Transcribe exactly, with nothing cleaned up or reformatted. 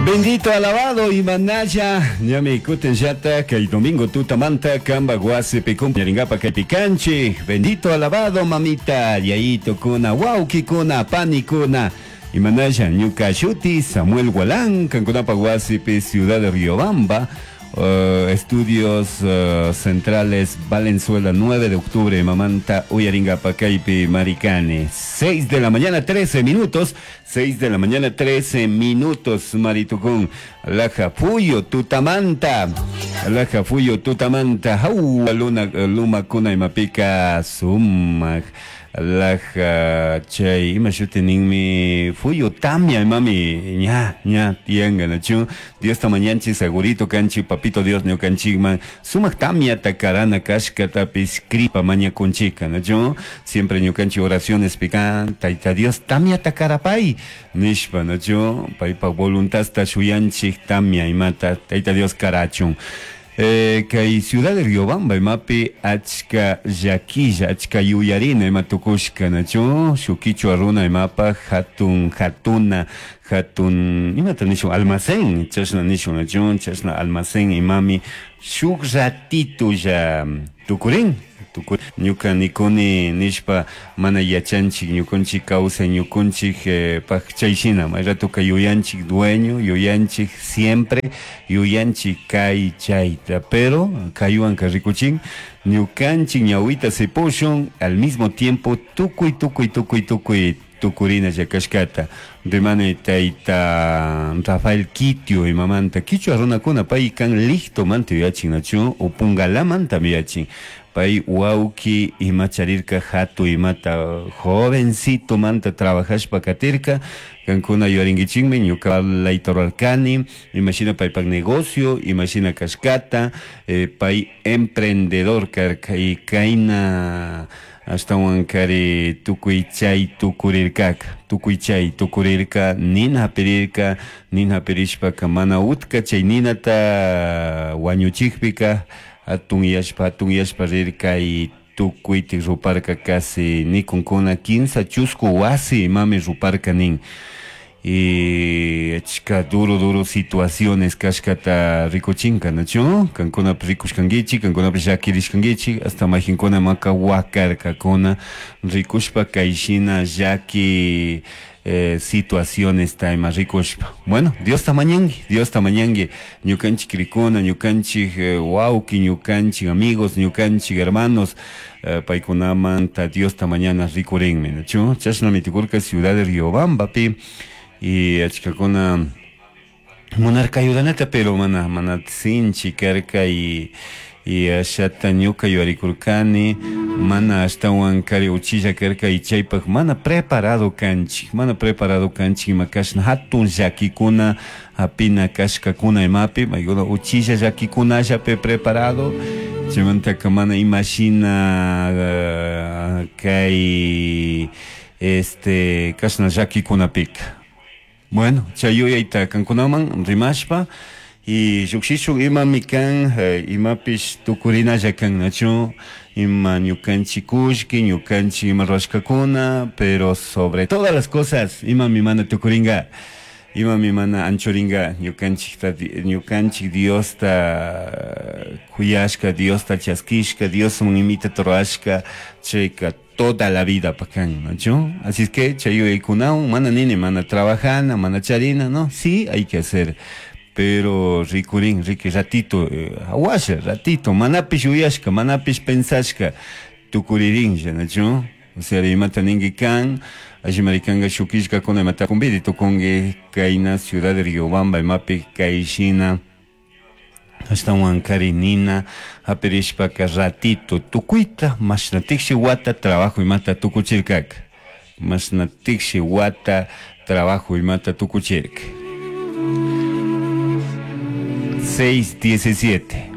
Bendito, alabado y manaya, ñami kutin llata, kay domingo tutamanta, kamba wasipi kumpañaringapa kaypi kanchik. Bendito, alabado, mamita, yayito kuna, wawkikuna, panikuna. Imanaya, ñuka shuti, Samuel Gualán, kankunapa wasipi, Ciudad de Riobamba, uh, Estudios uh, Centrales Valenzuela, nueve de octubre, mamanta uyaringapa kaypi maricane. seis de la mañana, trece minutos, seis de la mañana, trece minutos, maritucún. Alaja fuyo tutamanta, alaja fuyo tutamanta, jau, luna, luma kuna imapika sumak. Alaja chay ima shuti ninmi fuyu tamia imami ña ña tianga nachu Dios ta mañanchi segurito kanchi papito Dios ñukanchikman sumak tamia takarana kashkatapis kripa mañakunchika nachu siempre ñukanchi oraciones pican Tayta Dios tamia takarapay nishpa nachu paypa voluntadta shuyanchik tamia imata Tayta Dios karachun. Eh, kay Ciudad de Riobamba imapi achka llaquilla achka yuyarina ima tukushka nachu shuk kichwa runa imapa hatun hatuna hatun imata nishun almacén chashna nishun nachu chashna almacén imami shuk ratito ya tukurin tukur ñuka nikuni nishpa mana yachanchik ñukunchik kawsay ñukunchik eh, paj chay shina may ratoka yuyanchik dueño yuyanchik siempre yuyanchik kay chayta pero kaywanka rikuchin ñukanchik ñawita sipushun al mismo tiempo tukuy tukuy tukuy tukuy tukurina llakashkata rimani tayta Rafael Quitio imamanta kichwa runakuna pay kan listo manta yuyachin nachu upungalamanta yuyachin pay wawki ima charirka hatu imata jovencito manta trabajashpa katirka kankuna yuyarinkichikmi ñuka layta rurarkani imashina paypak negocio imashina kashkata eh, pay emprendedor karka y kayna ashtawan kari tukuy chay tukurirkaka tukuy chay tukurirka nina hapirirka nina hapirishpaka mana utka chay ninata wañuchikpika hatun yashpa hatun yashpa rirka y tukuytik ruparka casi nikunkuna kinsa chusku wasi imami ruparka nin y achka duro duro situaciones kashkata rikuchinka nachu kankunapish rikushkankichik kankunapish llakirishkankichik hasta mayjinkuna maka wakarkakuna rikushpa kayshina llaki eh, situaciones ima rikushpa. Bueno, Dios ta mañanki, Dios ta mañanki, ñukanchik rikuna, ñukanchik eh, wawki, ñukanchik amigos, ñukanchik hermanos, eh, paykunamanta Dios ta mañana rikurinmi, nachu chashnami tukurka Ciudad de Riobambapi y achkakuna munarka ayudanata pero mana mana sinchi karka y y ashata ñuka yuyarikurkani mana ashtawan kari uchilla karka y chaypak mana preparado kanchik mana preparado kanchik ima kashna hatun llakikuna hapina kashkakuna imapi maykuna uchilla llakikunallapi preparado chaymantaka mana imashina uh, kay este kashna llakikunapika. Bueno, chay yuyayta kankunaman rimashpa y llukshishun imami kan eh, imapish tukurinalla kan nachu ima ñukanchik kullki ñukanchik ima rurashkakuna pero sobre todas las cosas imami mana tukuringa imami mana anchuringa ñukanchikta ñukanchik Diosta kuyashka Diosta chaskishka Diosman imita rurashka chayka toda la vida pakan, ¿no? Así es que chay yuyaykunawan mana nini mana trabajana mana charina, no, sí hay que hacer pero rikurin riki ratito eh, awasha ratito manapish yuyashka manapish pensashka tukuririnlla, ¿no? O sea, imata ninki kan allimari kanka shuk killkakuna imata kumbidi tukunki kayna Ciudad de Riobamba imapi kayshina ashtawan kari nina hapirishpaka ratito tukuyta mashna tiksi wata trabajo imata tukuchirkaka mashna tiksi wata trabajo imata tukuchirka. Seis diecisiete.